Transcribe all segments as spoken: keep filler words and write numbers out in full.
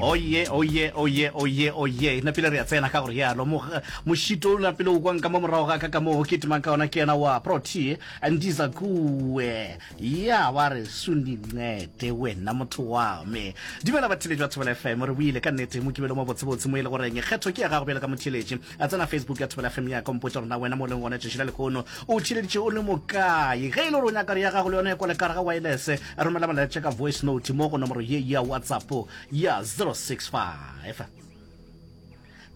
Oye, oye, oye, oye, oye. Napile re a tsena ka gore yalo. Mošito o napile o kwang ka mo morago ga ka ka mo ke timang ka ona ke yena wa Protea Ndiza Kuwe. Ya ba re sunincede wena motho wa me. Dumela batheeletši ba Thobela F M, re boile ka nnete mokibelo mo botsebotse mo e le goreng kgetho ke ya gago bjalo ka motheeletši. A tsena Facebook ya Thobela F M ya ka mpotša gore na wena mo o leng gona tšatši la lehono o theeleditše o le mokae. Ge e le gore o nyaka gore ya gago le yona e kwale ka gare ga wireless, romela molaetša ka voice note mo go nomoro ye ya WhatsApp ya zero six five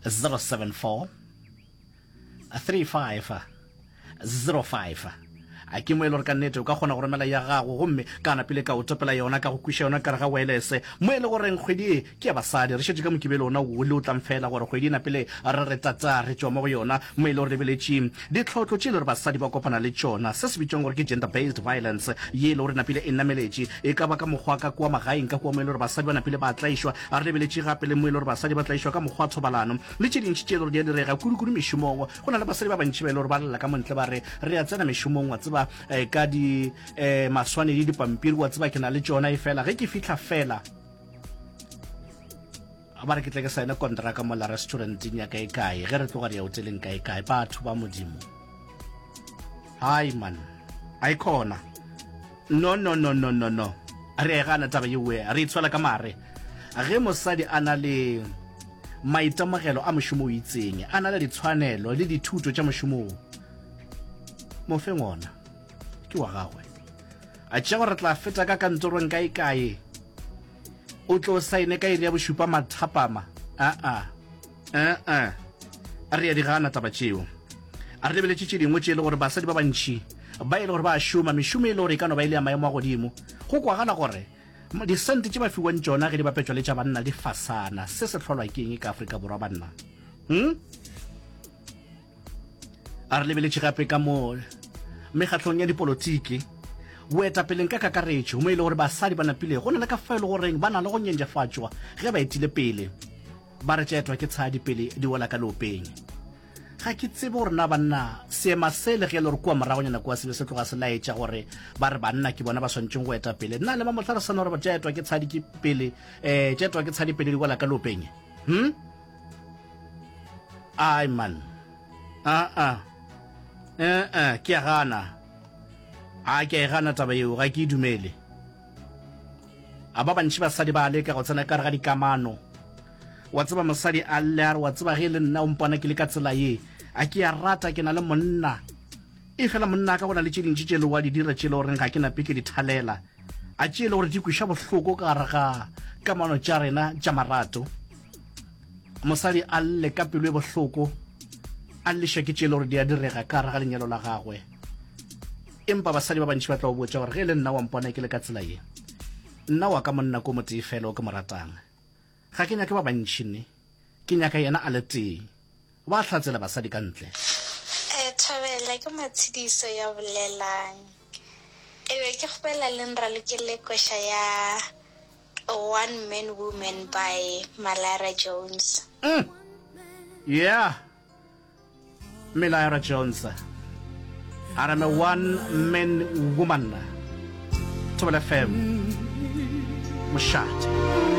zero seven four three five zero five. A ke mo e le gore ka nnete o ka kgona go romela ya gago, gomme ka napile ka o topela yona, ka go kwiša yona ka re ga wireless, mo e le goreng kgwedi e ke ya basadi. Re šetše ka Mokibelo ona o le o tlang fela gore kgwedi e napile re re tata re tšwa mo go yona, mo e le gore lebeletše ditlhotlo tše e le gore basadi ba kopana le tšona, se se bitšwang gore ke gender based violence, ye e le gore napile e nameletše, e ka ba ka mokgwa ka kua magaeng ka kua mo e le gore basadi ba napile ba tlaišwa. A re lebeletše gape le mo e le gore basadi ba tlaišwa ka mokgwa wa thobalano le tše dintši tše e le gore di a direga kudu-kudu mešomong. Go na le basadi ba bantši ba e le gore ba lela ka montle, ba re re a tsena mešomong, wa tseba, eh, ka di eh, maswanedi, dipampiri, wa tseba, ke na le tšona, e fela ge ke fihla fela ba re ke tle ke saene kontraka mola restauranteng ya kae kae, ge re tloga re ya hoteleng kae kae. Batho ba Modimo, hai man, a e khona. No, no, no, no, no, no, re e gana taba yewe, re itshwela ka mare. Ge mosadi a na le maitemogelo a mošomo o itseng, a na le ditshwanelo le dithuto tša mošomo o, mo feng ona, ke wa gagwe. A tšea gore re tla feta ka kantorong kae kae, o tlo saene ka iri ya bošupa mathapama, aa aa re ya di gana taba tšeo. A re lebeletše tše dingwe tše e le gore basadi ba bantši ba e le gore ba šoma mešomo e le gore e ka no ba e le ya maemo a godimo, go kwagala gore disente tše ba fiwang tšona ge di bapetšwa le tša banna di fasana. Se se hlolwa ke eng ka Afrika Borwa, banna, hmm? A re lebeletše gape ka mo mekgatlong ya dipolotiki, boetapeleng ka kakaretšo, mo e le gore basadi ba napile go na le ka fa e le goreng ba na le go nyenjefatšwa ge ba etile pele, ba re tšeetwa ke tshadi pele di wela ka leopeng. Ga ke tsebe gore na banna seema se le ge e le gore kua moragonyana kua se be se tloga se laetša gore ba re banna ke bona ba swanetšeng go eta pele, nna le mamohla re sana gore tšeetwa ke tshadi ke pele um tšeetwa ke tshadi pele di wela ka leopeng, hm ai man, aa ee, ke a gana, a ke a e gana taba yeo, ga ke e dumele. A ba bantši basadi ba leka go tsena ka re ga dikamano, wa tseba, mosadi a lle a re, wa tseba, ge e le nna o mpona ke le ka tsela ye, a ke a rata ke na le monna, e fela monna ka go na le tše dintši tše le wa di dira tše le goreng ga ke nape ke di thalela, a tše e le gore di kweša bohloko ka gare ga kamano tša rena tša marato. Mosadi a lle ka pelo e bohloko, a lleša ke tše e le gore di a direga ka gare ga lenyalo la gagwe. Empa basadi ba bantši ba tla o botša gore ge e le nna wa mpona ke le ka tsela ye, nna wa ka monna ko motee fela o ke mo ratang, ga ke nyake ba bantši, ne ke nyaka yena a le tee. Ba hlatsela basadi ka ntle. um Thobela, ke Matshediso ya bolelang. E be ke kgopela le nralokele koša ya One Man Woman by Malara Jones. mm. yeah Malara Jones a re me One Man Woman. Thobela F M, mošate.